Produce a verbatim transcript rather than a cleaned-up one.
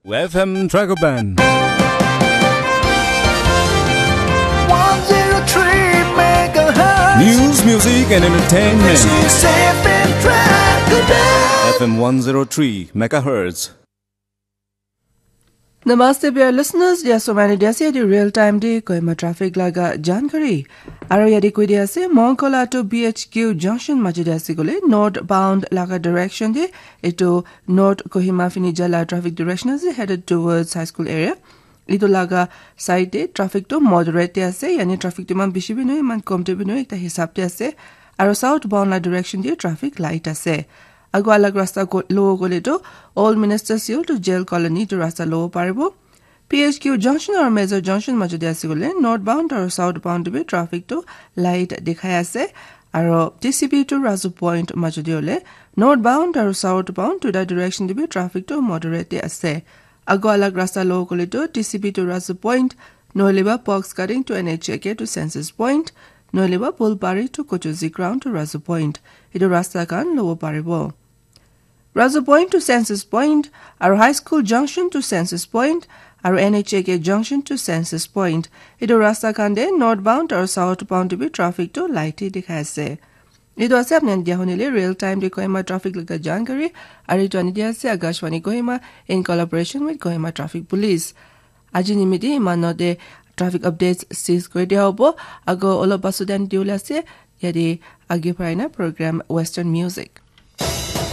F M Dragoban. one zero three megahertz. News, music, and entertainment. This is F M Dragoban. F M one zero three megahertz. Namaste, dear listeners. Dia somani dia se di real time di Kohima traffic laga jankari. Aro yadi koi dia se Mongkola to B H Q junction maji dia se gole northbound laga direction di itu North Kohima fini jala traffic direction ase headed towards high school area. Itu laga side de traffic to moderate de ase, yani traffic to iman bishi bi noy, iman kom de bi noy, ekta hisab de ase. Aro southbound la direction de traffic light ase. Agu alag rasta go- lowo gole to Old Ministers Hill to Jail Colony to rasta lowo paribo. P H Q junction aro Major junction majo de ase gole northbound aro southbound de bi traffic to light dikhai ase. Aro T C B to Razu Point majo de ole northbound aro southbound to the direction de bi traffic to moderate de ase. Agu alag rasta lowo gole to T C B to Razu Point, nohole ba Box Cutting to N H A K to Census Point, nohole ba Bulbari to Kochuzi Ground to Razu Point. Itu rasta khan lowo paribo. Razu Point to Census Point, aro High School Junction to Census Point, aro N H A K Junction to Census Point. Itu rasta khan de northbound aro southbound de bi traffic to light hi dikhai ase. Itu ase apni dia hunile real time de Kohima traffic laga jankari, aro itu ani dia ase Akashvani Kohima in collaboration with Kohima Traffic Police. Aji nimiti imano de traffic updates sis koi dia hobo, ago olo basudan diula ase, yadi agi paraina program Western Music.